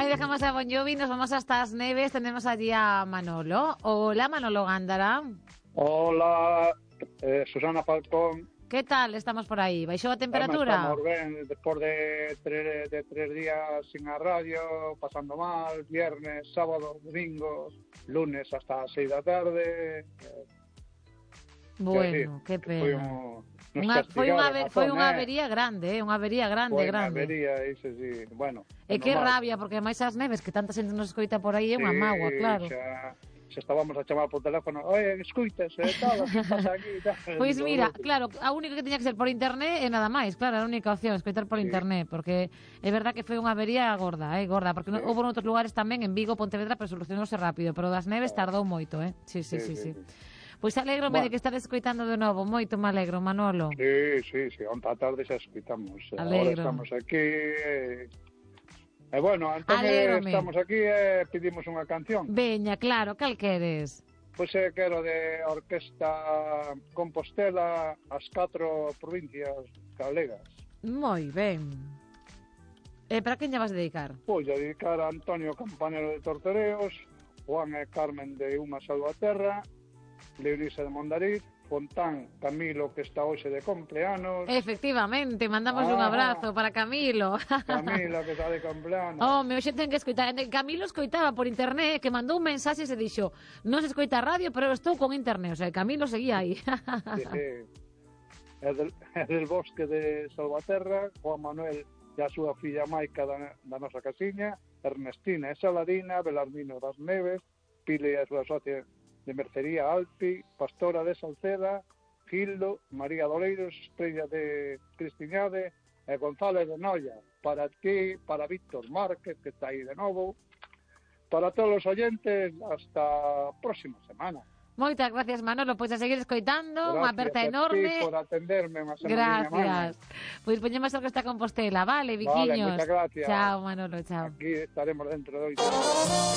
y dejamos a Bon Jovi, nos vamos hasta As Neves, tenemos allí a Manolo. Hola, Manolo Gándara. Hola, Susana Falcón. Que tal estamos por aí? Baixou a temperatura? Estamos ben, despois de tres días sin a radio, pasando mal, viernes, sábado, domingo, lunes hasta as 6 da tarde. Bueno, que pena. Foi unha avería grande, unha avería grande. Unha avería, iso sí, bueno. E que rabia, porque máis As Neves, que tanta xente nos escoita por aí, é unha mágoa, claro. Se estábamos a chamar por teléfono, escuitas, tal, que pasa aquí, tal. Pois mira, claro, a única que tiña que ser por internet e nada máis, claro, a única opción, escoitar por internet, porque é verdad que foi unha avería gorda, porque houve noutros lugares tamén, en Vigo, Pontevedra, pero solucionouse rápido, pero das Neves tardou moito, Sí. Pois alégrome de que estades escoitando de novo, moito me alegro, Manolo. Sí, onta tarde xa escoitamos. Alegro. Ahora estamos aquí, bueno, entón estamos aquí e pedimos unha canción. Veña, claro, cal queres? Pois quero de Orquesta Compostela, as 4 provincias galegas. Moi ben. E para quen lle vas dedicar? Pois a dedicar a Antonio Campanero de Tortereos, Juan e Carmen de Uma Salvaterra, Leonisa de Mondariz, Fontán Camilo, que está hoxe de cumpleanos. Efectivamente, mandamos un abrazo para Camilo. Camilo, que está de cumpleanos. Hoxe ten que escoitar. Camilo escoitaba por internet, que mandou un mensaxe e se dixo: non se escoita radio, pero estou con internet. O sea, Camilo seguía aí. Sí. É del bosque de Salvaterra, Juan Manuel e a súa filla Maica da nosa casiña, Ernestina e Saladina, Belarmino das Neves, Pile e a súa socia de Mercería Alpi, Pastora de Salceda, Gildo, María Doleiros, Estrella de Cristiñade e González de Noia. Para ti, para Víctor Márquez, que está aí de novo, para todos os oyentes, hasta a próxima semana. Moitas gracias, Manolo, pois a seguir escoitando, unha aperta enorme. Gracias por atenderme unha semana. Gracias. Pois poñemos a Orquesta Compostela, vale, Viquiños. Vale, moitas gracias. Chao, Manolo, chao. Aquí estaremos dentro de 8 horas.